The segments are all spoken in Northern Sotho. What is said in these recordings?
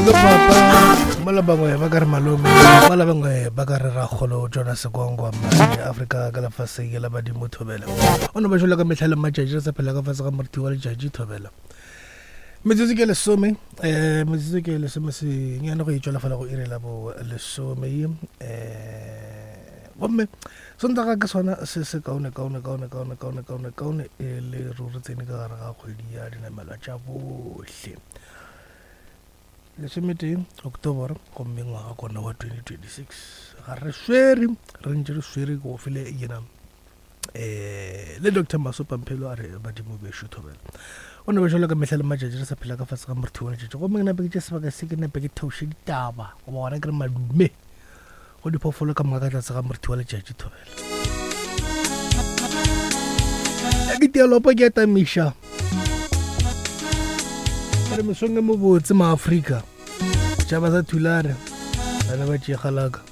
Le papa mola bangwe ba ka re malome mola bangwe ba ka re rakgolo Jonas Gwangwa mane Afrika ka lefaseng la badimo thobela o no ba jwalo ka mehla le matšatši re sa phela ka fase ga moriti wa letšatši thobela metsotso ke lesome um metsotso ke lesome senyane go itšwela fela go iri la bo lesome um gomme sontaga ke sona se se kaone kaone kaone kaone kaone kaone kaone e le ruri tsene ka gare ga kgwedi ya dinamelwa tša bohle lesometee october gomme ngwaga kona wa 2026 ga re swere re ntše re swere go file yena eh le dr masopa mphelo a re badimo bešo thobela o ne ba jalo ka mehla le matšatši re sa phela ka fase ga morthi wa letšatši gomme ke nape ke tše sebaka se ke nape ke theoše ditaba goba gona ke re madume go diphoofolo ka moka ka tlase ga morthi wa letšatši thobela ya ke tialopo ke etamiša re mesong e mobotse maaforika tšhaba sa thulare bana ba tšegalaka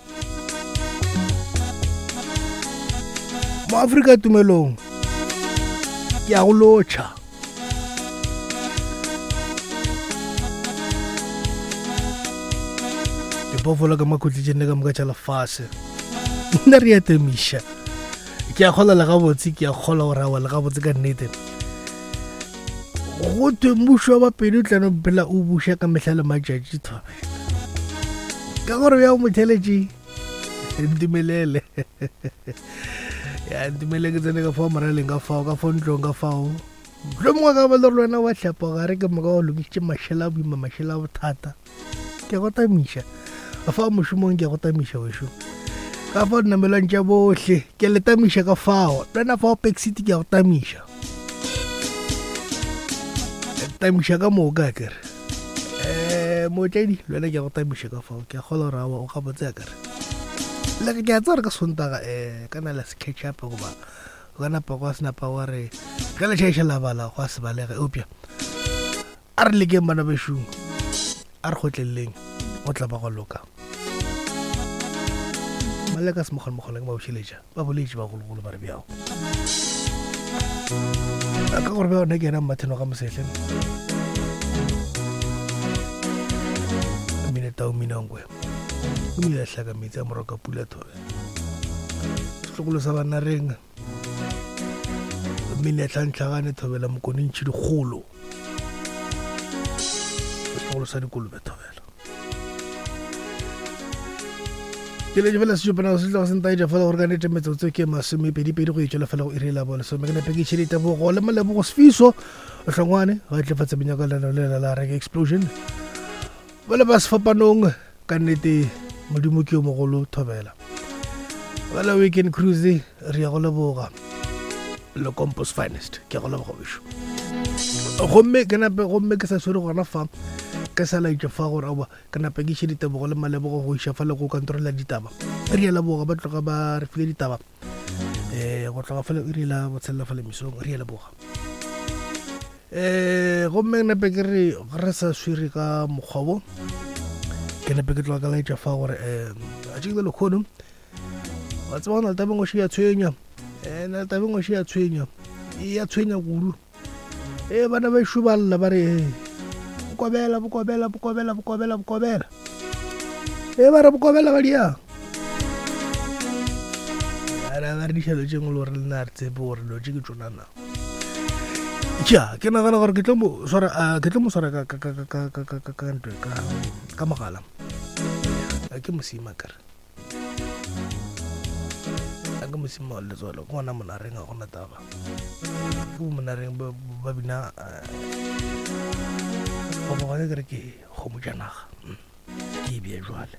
mo Afrika tumelong ke a go lotšha diphoofolo ka makhutli ka moka tša lefase nna re atemiša ke a kgola le gabotse ke a kgola gore awa le gabotse ka nnete go thwe mmušo wa bapedi o tlano phela o buša ka mehla le matšatši thobela ka gore bja motheletše ntumelele ya ntumelele ke tsene ka fao moraleng ka fao ka fao ntlong ka fao tlo mongwe ka ba le gore le wena wa hlapa gare ke moka o lokišitše mašela a boima mašela a bothata ke a go tamiša ka fao mošomong ke a go tamiša wešo ka fao dinamelwang tša bohle ke le tamiša ka fao le wena fao pack city ke a go tamiša tamiša ka moka kere um mootledi le wena ke a go tamiša ka fao ke a kgola gore awa o gabotse a kere le ke a tseba gore ka sontaga um ka na le se catch up goba o ka napa gwa se napa wa re ge le tšhaiša la bala gwa se balege eupša A re lekeng bana bešung, a re kgotleleleng, go tla ba gwa loka. Maleka se mogolomogolo ke ba bošeletša, ba boletše bagologolo ba re bjao. Ka gore bjao nna ke yena Mmatheno ga Mosehle. Mine tau minangwe. O ile a hlaka metsi a moroka pula thobe. Setlogolo sa banna reng. Mine tlhantlhagane thobela mokone ntšhi dikgolo. Setlogolo sa dikolobe thobela. Ke letse fela sešopana se tloga se ntaetša fela gore ka nete metsotso ke masomepedipedi go etšwela fela go iri la bolesome ke nepe ke tšhelete bogo le malebogo sefiso hlongwane ga tle fa tsebeng ya ka leno le la reke explosion ba le ba sefapanong ka nnete modimo ke yo mogolo thobela ba la weekend cruise re ya go leboga le compos finest ke go leboga bešo gomme ke nape gomme ke sa swere gona fa ke sa laetša fa gore aowa ke nape ke iše ditebogo le malebogo go iša fa le go kantoro la ditaba re ya leboga ba tloga ba re file ditaba um go tloga fela iri la botshelela fa le mesong re ya leboga um gomme ke nape ke re re sa swere ka mokgwa wo ke nape ke tloga ka laetša fa gore um a tšekile lekgono wa tseba go na le tabeng o ya tshwenya um na le tabeng o ya tshwenya e ya tshwenya kudu e bana ba ešo ba lla ba re bokobela bokobela bokobela bokobela bokobela e ba re bokobela ba diang ba re dišalo tše ngwe le gore le nna re tsebe gore dilo tše ke tsona na ja ke nagana gore ke tlo mo swara ke tlo mo swara ka ka ka ka ka ka ka ka ntwe ka ka mogala ke mosima kare a ke mosima wa letswalo ke gona monareng ga gona taba ke bo monareng ba bina goba gona ke re ke kgomo tša naga mm. ke e bea jwale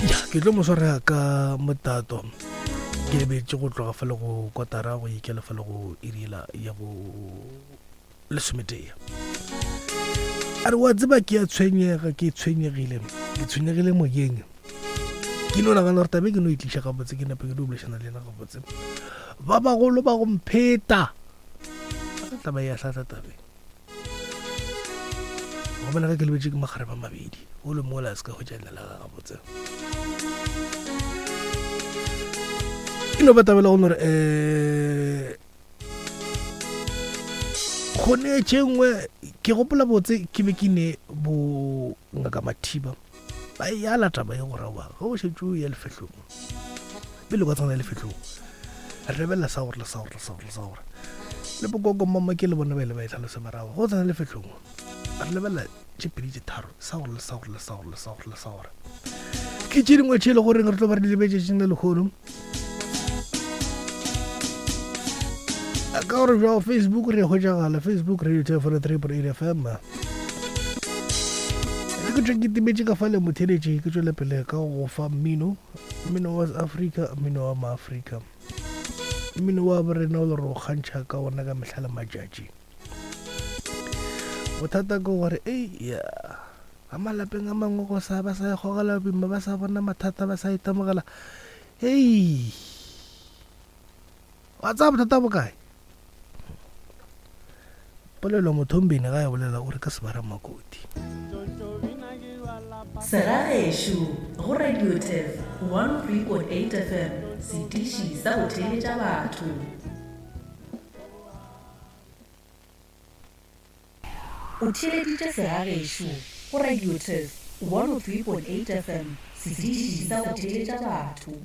ya ke tlo mo swara ka motato ke lebetse go tloga fa le go kotara go ikela fa le go iriela ya bo lesometee a re wa tseba ke a tshwenyega ke tshwenyegile ke tshwenyegile moyeng ke no nagana gore tabe ke no itliša gabotse ke nape ke di bolešana le yena gabotse ba bagolo ba go mpheta taba ya hlahla tabeng go bona ge ke lebetse ke magare ba mabedi o le mola a se ka hwetša leina la ga gabotse e no ba tabela go no re um. Kgone tše nngwe ke gopola botse ke be ke ne bo ngaka Mathiba ba e ala taba ye gore wa ge o šetše o ya lefehlong pele o ka tsena lefehlong re lebelela sa gore le sa gore le sa gore le sa gore le bokoko mama ke le bona ba ile ba e tlhalosa marago go tsena lefehlong re lebelela tše pedi tše tharo sa gore le sa gore le sa gore le sa gore le sa gore ke tše dingwe tše e le goreng re tlo ba re di lebetšetšeng le lekgono ka gore bjao Facebook re hwetšagala Facebook radio 3.8 FM ke tšwe ke timetše ka fale motheletše ke tšwele pele ka go fa mmino mmino wa Afrika mmino wa maafrika mmino wa borena o le re o kgantšha ka ona ka mehla le matšatši bothata ke gore ei ya a malapeng a mangwe go sa ba sa e gogela boima ba sa bona mathata ba sa itemogela hei wa tsaya bothata bokae polelo mothombeni ga ya bolela o re ka sebara makoti Segagešo go Radio Turf 103.8 FM, setiši sa go theeletša batho. O theeleditše Segagešo go Radio Turf 103.8 FM, setiši sa go theeletša batho.